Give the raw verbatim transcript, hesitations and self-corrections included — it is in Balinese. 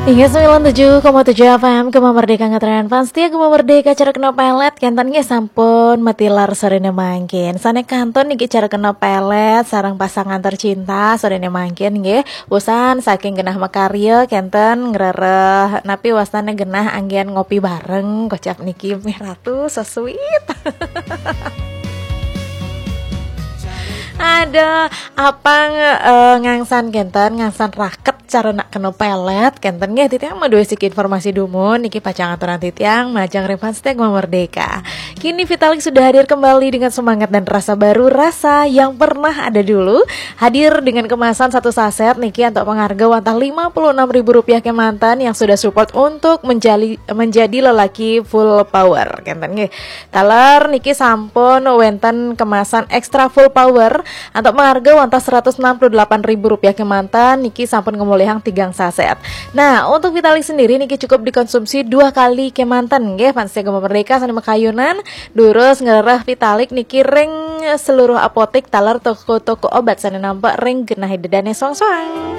Inggih, sembilan tujuh koma tujuh F M, Gema Merdeka, ngetren fans setia Gema Merdeka, cara kena pelet, kenten nggih sampun matilar sorene mangkin. Sane kantun niki cara kena pelet sareng pasangan tercinta sorene mangkin nggih. Wusan saking genah makarya kenten ngrereh napi wastane genah anggen ngopi bareng, kocap niki mih ratu so sweet. Ada apang eh, ngangsan kenten, ngangsan raket cara nak kena pelet kenten nggih. Titiang maduwe siki informasi dumun niki pacang aturan titiang majeng ring fans setia Gema Merdeka. Kini Vitalik sudah hadir kembali dengan semangat dan rasa baru, rasa yang pernah ada dulu. Hadir dengan kemasan satu saset niki untuk pengharga wantah lima puluh enam ribu rupiah kemanten yang sudah support untuk menjali, menjadi lelaki full power. Kenten nggih. Taler niki sampun wenten kemasan extra full power untuk mengharga wantah seratus enam puluh delapan ribu rupiah kemanten niki sampun ngemulihang tigang saset. Nah, untuk Vitalik sendiri niki cukup dikonsumsi dua kali kemanten nggih, fans setia Gema Merdeka sane makayunan durus ngrereh Vitalik niki ring seluruh apotek taler toko-toko obat sane nampak ring genah dedane soang-soang.